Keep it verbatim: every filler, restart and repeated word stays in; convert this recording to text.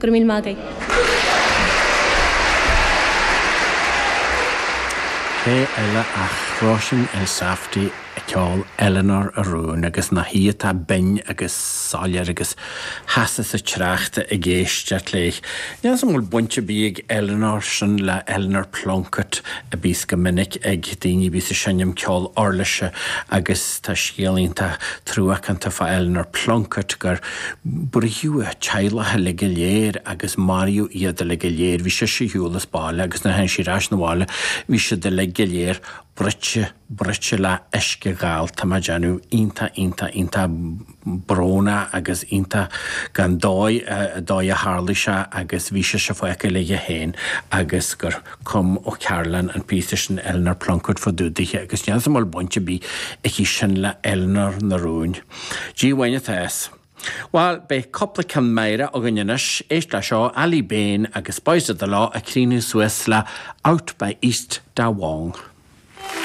Go raibh míle maith agaibh. Cé eile ach Róisín Elsafty ag ceol Eleanor a Rún agus nach í atá binn agus soiléir agus sheasas sa trácht ag éisteacht léi. Níl 'fhios a'm an bhfuil baint ar bith ag Eleanor sin le Eleanor Plunkett a bíos go minic ag daoine a bíos ag seinm ceol uirlise agus tá scéal iontach truacánta fá Eleanor Plunkett gur bruitheadh a teaghlach uilig go léir agus maraíodh iad uilig go léir. Bhí sise ar shiúl as baile agus nuair a tháinig sí ar ais 'na bhaile bhí siad uilig go léir bruite bruite le uisce gal tá mé ag déanamh iontach iontach iontach brónach agus iontach gan dóigh dóigh a tharlaigh sé agus bhí sise fágtha léi féin agus gur chum O'Carolan an píosa sin Eleanor Plunkett fá dtaobh dithe agus níl 'fhios a'm an bhfuil baint ar bith aici sin le Eleanor na Rún. Dia uainn atá fhios. Bhuel, beidh cúpla ceann meidhreach againn anois, éist le seo Aly Bain agus Boys of the Law ag críochnú suas le Out by East Da Wong.